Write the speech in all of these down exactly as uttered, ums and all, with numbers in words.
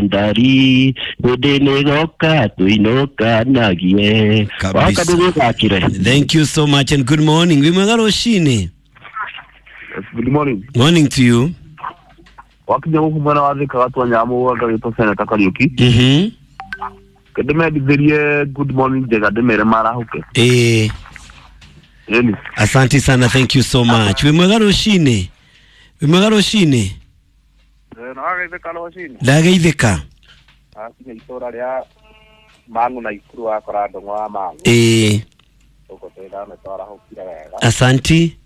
Ndari hĩndĩ nĩgoka tũinũkanagie. Kabisa. Waka ndũgĩthakire. Thank you so much and good morning. Wĩ mwega rũcinĩ. Good morning. Morning to you. Wakinya gũkũ mwena wa Thika gatua nyamũ ngagĩtwo Seneta Kariũki. Mhm. Ndĩmendithĩrie good morning njega ndĩmere marahũke. Eh, Ĩni. asante sana, thank you so much. Wĩ mwega rũcinĩ. Wĩ mwega rũcinĩ. Nĩwagaithĩka rũcinĩ. Ndageithĩka. Akinya itũra rĩa Mang'u na Ikuru wakora ndũng'ũ wa Mang'u. Eh, Gũkũ twĩthane twarahũkire wega. asanti.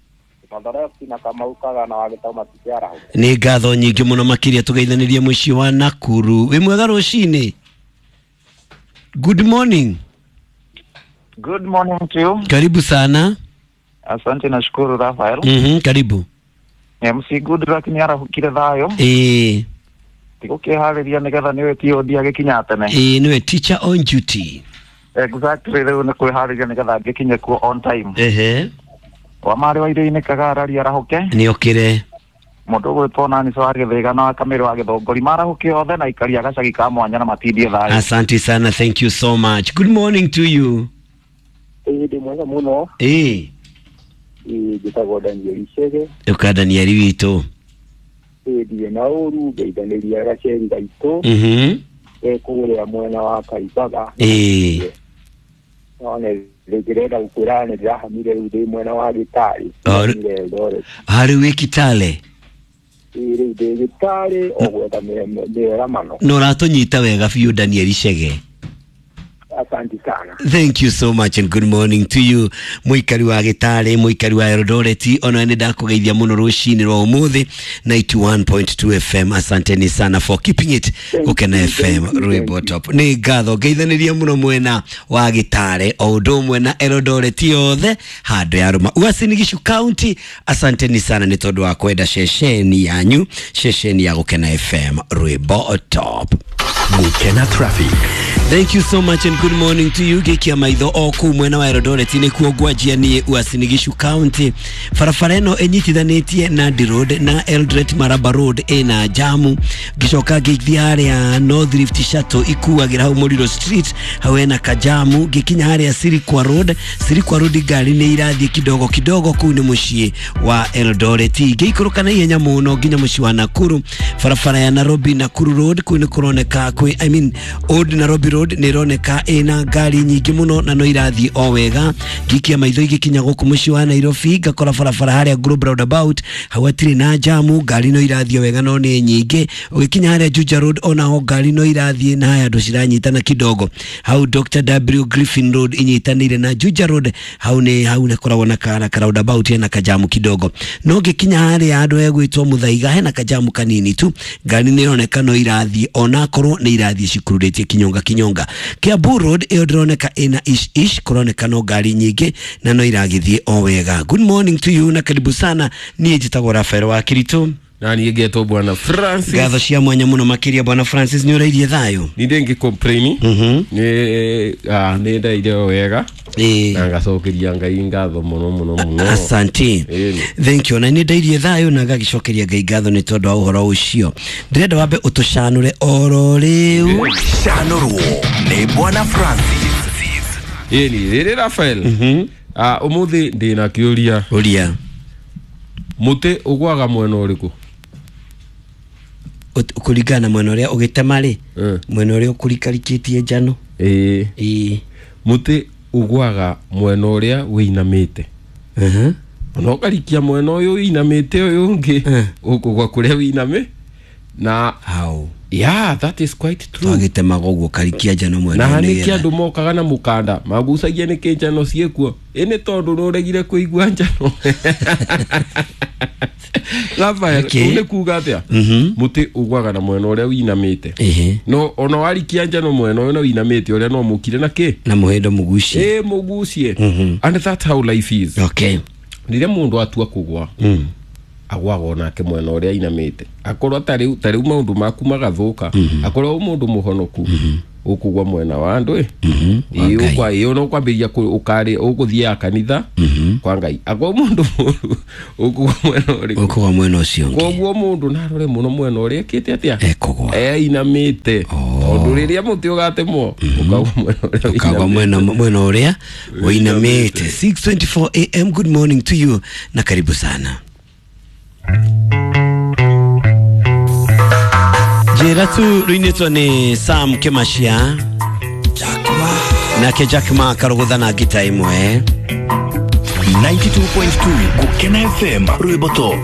Mathoresi na Kamau Kagana wa Gĩtau matikĩarahũka. Nĩ ngatho nyingĩ mũno makĩria tũgeithanĩrie mũciĩ wa Nakuru. Wĩ mwega rũcinĩ. Good morning. Good morning to you. Karibu sana. Asante nashukuru Rafael. Mhm, karibu. M C Goodluck nĩ arahũkire thayũ. Eh, Tigũkĩharĩria nĩgetha nĩwe T O D agĩkinya tene. eh, nĩwe teacher on duty. Exactly, rĩu nĩ kwĩharĩria nĩgetha ngĩkinye kuo on time. Ehe. Wa marĩ wa irio-inĩ Kagara arahũke. Nĩ okire. Mũndũ ũgwĩtwo nani wa Gĩthĩga na wa Kamĩrũ wa Gĩthũngũri marahũke othe na aikari a gacagi ka mwanya na matindie thayũ. Asante sana, thank you so much. Good morning to you. Ĩĩ ndĩ mwega mũno. Eh, Ĩĩ njĩtagwo Daniel Chege. ũka Daniel witũ. Ĩĩ ndirĩ na ũru ngeithanĩria gaceri gaitũ. Mhm. Kũrĩa mwena wa Kaimbaga. Eh, No nĩ ndĩrenda gũkwĩra nĩ ndĩrahamire rĩu ndĩ mwena wa Gĩtarĩ. Oh, rĩ- Ndĩrahamire Eldoret. harĩ wĩ Kitale. Ĩĩ rĩu ndĩ Gĩtarĩ o gwetha mĩeramano. Na ũratũnyita wega biũ Daniel Chege. Asante sana. Thank you so much and good morning to you. Mũikari wa Gĩtarĩ, mũikari wa Eldoret, ona nĩ ndakũgeithia mũno rũcinĩ rwa ũmũthĩ ninety-one point two F M. Asanteni sana for keeping it Gũkena F M rwĩmbo top. Nĩ ngatho ngeithanĩria mũno mwena wa Gĩtarĩ o ũndũ ũmwe na Eldoret yothe handũ ya Rũma. Uasin Gishu County, asanteni sana nĩ tondũ wa kwenda ceceni yanyu, ceceni ya Gũkena F M rwĩmbo top. Gũkena Traffic. Thank you so much and good morning to you. Gĩkia maitho o kũu mwena wa Eldoret nĩkuo ngwanjia niĩ Uasin Gishu County. Barabara ĩno ĩnyitithanĩtie Nandi Road na Eldoret Maraba Road ĩna jamu. Ngĩcoka ngĩthiĩ harĩa North Rift Shuttle ikuagĩra hau Mũriro Street, hau hena kajamu. Ngĩkinya harĩa Sirikwa Road, Sirikwa Road ngari nĩ irathiĩ kidogo kidogo, kũu nĩ mũciĩ wa Eldoret. Ngĩikũrũka na ihenya mũno nginya mũciĩ wa Nakuru, barabara ya Nairobi Nakuru Road, kũu nĩ kũroneka kwĩ, I mean Old Nairobi Road nĩ ĩroneka ĩna ngari nyingĩ mũno na no irathiĩ o wega. Ngikia maitho igĩkinya gũkũ mũciĩ wa Nairobi ngakora barabara harĩa Globe Roundabout hau hatirĩ na jamu, ngari no irathiĩ wega no nĩ nyingĩ. Ũgĩkinya harĩa Juja Road onaho ngari no irathiĩ na haya andũ ciranyitana kidogo. Hau Doctor W Griffin Road inyitanĩire na Juja Road, hau nĩ hau nĩ koragwo na ka ka roundabout hena kajamu kidogo. No ngĩkinya harĩa handũ hegwĩtwo Muthaiga hena kajamu kanini tu, ngari nĩ ĩroneka no irathiĩ onakorwo nĩ irathiĩ cikururĩtie kinyonga kinyonga. Kiambu Road ĩyo ndĩroneka ĩna ish ish, kũroneka no ngari nyingĩ na no iragĩthiĩ o wega. Good morning to you na karibu sana. Niĩ njĩtagwo Rafael wa Kiritu. Na niĩ ngetwo Bwana Francis. Ngatho cia mwanya mũno makĩria Bwana Francis, nĩ ũrairie thayũ? Ni ndĩngĩ complain. Mhm. Nĩ ah nĩ ndaire o wega. Ĩĩ. Na ngacokeria Ngai ngatho mũno mũno mũno. Asante. Ĩni. Thank you. Na nĩ ndairie thayũ na ngagĩcokeria Ngai ngatho nĩ tondũ wa ũhoro ũcio. Ndĩrenda wambe ũtũcanũre oro rĩu. Canũrwo nĩ Bwana Francis. Ĩni, rĩrĩ Rafael. Mhm. Ah ũmũthĩ ndĩna kĩũria. Ũria. Mũtĩ ũgwaga mwena ũrĩkũ? Ũt- Kũringana na mwena ũrĩa ũgĩtema rĩ, Eh. mwena ũrĩa ũkũrikarikĩtie njano. Ĩĩ. Ĩĩ. Mũtĩ ũgwaga mwena ũrĩa wĩinamĩte. Mhm. Ona ũkarikia mwena ũyũ wĩinamĩte ũyũ ũngĩ, Eh. ũkũgwa kũrĩa wĩinamĩ. Na Hau. yeah, that is quite true. Twagĩtemaga ũguo karikia njano mwena Na ũyũ nĩkĩ nĩgetha- andũ mokaga na mũkanda magucagia nĩkĩ njano ciĩkuo? Ĩ nĩ tondũ nĩũregire kũigua njano. Rafael, Okay. ũũ nĩ kuga atĩa? Mhm. Mũtĩ ũgwaga na mwena ũrĩa wĩinamĩte. Ĩhĩ. No ona warikia njano mwena ũyũ na wĩinamĩte ũrĩa no mũkire na kĩ? Na mũhĩndo mũgucie. Ĩ mũgucie. Mhm. And that's how life is. Okay. Rĩrĩa mũndũ atua kũgwa, Mm. agwaga onake mwena ũrĩa ainamĩte. Akorwo ta rĩu ta rĩu maũndũ maku magathũka, akorwo wĩ mũndũ mũhonoku, Ũkũgwa mwena wa andũ ĩ. Mhm, wa Ĩĩ, Ngai. ũkwa- ĩĩ, no kwambĩrĩria kũ- ũkarĩ ũgũthiaga kanitha kwa Ngai. Akwa mũndũ mũru ũkũgwa mwena ũrĩkũ? Ũkũgwa mwena ũcio ũngĩ. Koguo mũndũ narore mũno mwena ũrĩa ekĩte atĩa? Ekũgwa. Einamĩte, tondũ rĩrĩa mũtĩ ũgatemwo ũkagwa mwena ũrĩa Ũkagwa ũinamĩte. mwena mwena ũrĩa ũinamĩte. six twenty-four a m, good morning to you na karibu sana. Njĩra tu rũinĩtwo nĩ Sam Kĩmacia nake Jack Ma karũgũtha na ngita ĩmwe. ninety-two point two Gukena F M, rwimbo top.